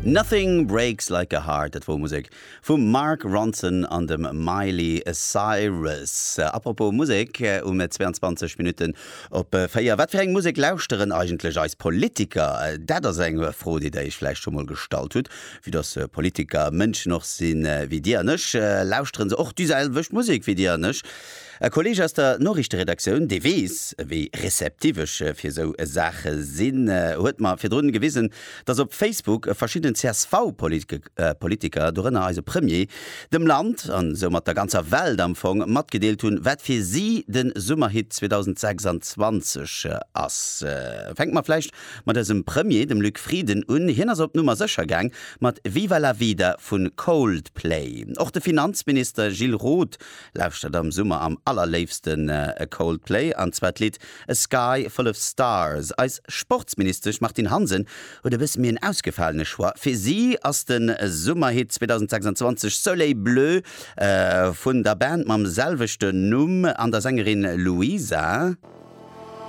Nothing Breaks Like a Heart, dat wor Musek vum Mark Ronson an dem Miley Cyrus. Apropos Musek, um 22 Minutten op 4, wat fir eng Musek lauschteren eigentlech eis Politiker? Dat ass eng Fro, déi der iech vläicht scho mol gestallt hutt. Vue dass Politiker Mënschen och sinn wéi dir an ech, lauschteren se och déi selwecht Musek wéi dir an ech. E Kolleeg aus der Noriichteredaktioun, dee weess, wéi receptiv ech fir esou Saache sinn, huet mer virdrun gewisen, dass op Facebook verschidden CSV-Politiker, dorënner eise Premier, dem Land, an soumat der ganzer Welt am Fong, matgedeelt hunn, wat fir si de Summerhit 2026 ass. Fänke mer vläicht mat eisem Premier, dem Luc Frieden, un. Hien ass op Nummer sécher gaang mat Viva la Vida vu Coldplay. Och de Finanzminister Gilles Roth Lauschtert am Summer am allerléifsten Coldplay, an zwar d'Lidd A Sky Full of Stars. Eis Sportsministesch Martine Hansen huet e bësse méi en ausgefalene Choix. Fir si ass de Summerhit 2026 Soleil Bleu vun der Band mam selwechten Numm an der Sängerin Louisa.